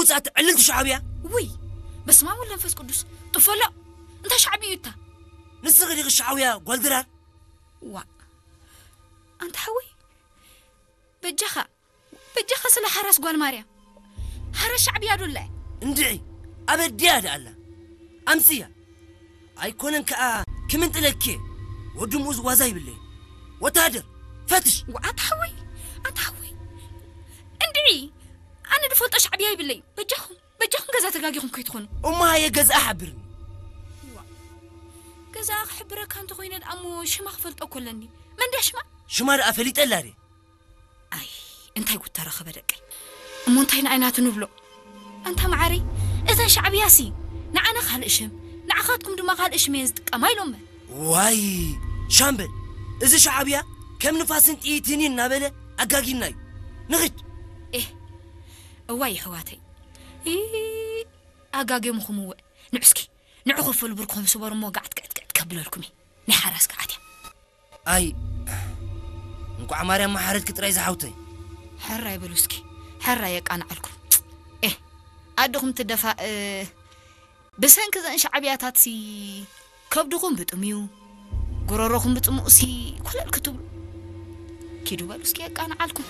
ውፅኣት ዕልልቲ ሻዕብያ። ውይ፣ በስመ ኣብ ወወልድ ወመንፈስ ቅዱስ። ጥፈሎ። እንታይ ሻዕብያ እዩ እታ? ንስኺ ዲኺ ሻዕብያ ጓል ድራር? ዋ፣ ኣንታ ሓወይ፣ በጃኻ በጃኻ፣ ስለ ሓራስ ጓል ማርያም። ሓራስ ሻዕብያ ዶ ኣላ? እንድዒ፣ ኣበድያ ደኣ ኣላ። ኣምስያ። ኣይኮነን ከኣ ክምንጥለኪ። ወዲ ምኡዝ ዋዛ ይብለይ። ወታደር፣ ፈትሽ። ዋ፣ ኣንታ ሓወይ፣ ኣንታ ሓወይ፣ እንድዒ፣ ኣነ ድፈልጦ ሻዕብያ ይብለይ። በጃኹም በጃኹም፣ ገዛ ተጋጊኹም ከይትኾኑ። እሞ ሃየ፣ ገዛኣ ሓብርኒ። ገዛኣ ክሕብረካ እንተኾይነ ደኣ እሞ ሽማ ክፈልጦ እኮ ኣለኒ። መን ድያ ሽማ? ሽማ ደኣ ፈሊጠላ ድየ? ኣይ፣ እንታይ ጉድ ተረኸበ ደቀይ። እሞ እንታይ ንኣይ ናቱ ንብሎ? ኣንታ መዓረይ፣ እዘን ሻዕብያሲ ንዓና ካልእ ሽም፣ ንዓኻትኩም ድማ ካልእ ሽም እየን ዝጥቀማ ኢሎመን። ዋይ ሻምበል፣ እዚ ሻዕብያ ከም ንፋስን ጥይትን እዩ እናበለ ኣጋጊና እዩ። ንኽድ። ኤህ፣ እዋይ የሕዋተይ፣ ኢ፣ ኣጋጊምኹምወ። ንዑ እስኪ፣ ንዑ ክፍል ብርኩም ስበሩ እሞ ጋዕት ግዕት ግዕት ከብለልኩም እዩ። ናይ ሓራስ ከዓት እያ። ኣይ እንኳዕ ማርያም መሓረትኪ ጥራይ ዝሓውተይ። ሕራይ በሉ እስኪ፣ ሕራይ የቃንዓልኩም። ኤህ፣ ኣድኹም ትደፋእ። ብሰንኪ ዘን ሻዕብያታትሲ ከብድኹም ብጥምዩ፣ ጎረሮኹም ብጽሙቕሲ ኮለል ክትብሉ። ኪዱ በሉ እስኪ የቃንዓልኩም።